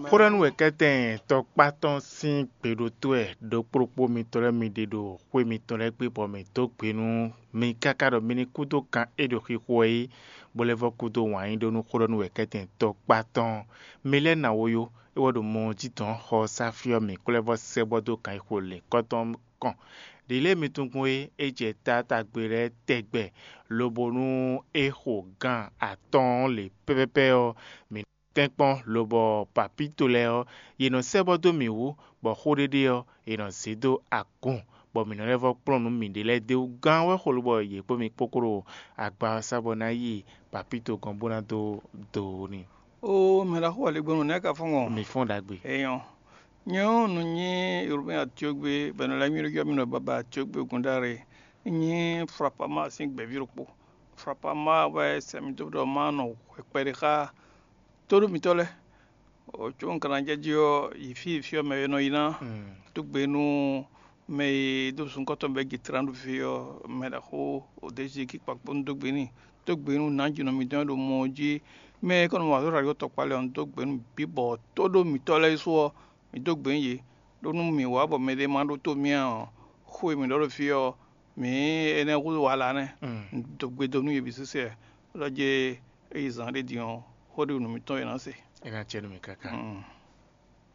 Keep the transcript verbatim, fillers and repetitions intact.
Xóɖɔ́nú wɛ kɛ́tɛn tɔkpá tɔn sín gbeɖótó wɛ ɖokpóɖokpó mitɔn lɛ́ɛ mi ɖe ɖo xwé mitɔn lɛ́ɛ gbe bɔ mǐ dó gbe nú mi káká ɖɔ mi ní kú dó kan e ɖo xixo wɛ é, bó lɛ́ vɔ́ kú dó wǎn yí ɖó nú xóɖɔ́nú wɛ kɛ́tɛn tɔkpá tɔn. Mi lɛ́ ná wo yó, é wɛ ɖo mɔ jí dɔn xɔ sáfí ɔ́ mǐ kplɔ́ vɔ́ sɛ́ bɔ dó kan e xo lě kɔ́tɔn kɔn. Ɖǐlée mi tunwun gbɔn é, é jɛ taátagbe lɛ́ɛ tɛgbɛ, lobo nú é xo gan atɔ́ɔ́n lě pɛ́pɛ́pɛ́ ɔ́, mǐ tɛ́nkpɔ́n lobɔ papíto lɛ́ɛ ɔ́, yě nɔ sɛ́ bɔ dó mǐ wú, bɔ xó ɖéɖé ɔ́, è nɔ zě dó agun, bɔ mǐ nɔ lɛ́ vɔ́ kplɔ́n nǔ mǐɖée lɛ́ɛ d'é wú gán wɛ xo lobɔ yě kpó mi kpókpó ɖo agba ɔ́ sá bɔ ná yi papíto gɔ́n bó ná dó do n'i. Ó mɛ ɖaxó aligbɔnɔ nɛ́ ka fɔ́n gbɔn? Mi fɔ́n ɖagbe. Eyɔn. Nyɛ ɔ́, nu nyí Urbain Atiogbe, bɔ è nɔ lɛ́ nywí ɖó mì ɖɔ Baba Atiogbe Gúndáre. Nyí Frapama sín gbɛ̌ví ɖokpó. Frapama wɛ sɛ mì dó ɖɔ má nɔ hwɛ kpɛɖé xá tóɖó mǐtɔn lɛ́ɛ. Có un ka ná jɛ jí ɔ́, yi fí e fí ɔ́ mɛ e nɔ yi ná dó gbe nú mɛ e dó zunkɔ́ tɔn bɔ é ji tlán ɖo fí ɔ́, mɛ ɖaxó Odézíki kpakpó un dó gbe n'i. Dó gbe nú nǎjínɔ mitɔn e ɖo mɔ ɔ́ jí, mɛ e kɔn nɔ wa azɔ̌ ɖagbe tɔkpá lɛ́ɛ ɔ́, un dó gbe nú bǐ bɔ tóɖó mǐtɔn lɛ́ɛ ɖésú ɔ́, mǐ dó gbe nú yě. Ɖó nú mǐ wá bɔ mɛɖé ma ɖótó mì ǎ ɔ́, xó e mǐ ɖɔ ɖo fí ɔ́, mǐ énɛ́ húzú wa la nɛ́. Un dó gbe dó nú yě bǐ sésé. Lɔ jɛ é yi zǎn ɖé din ɔ́, xó ɖé nú mǐtɔn e ná se. É ná cɛ nú mì káká.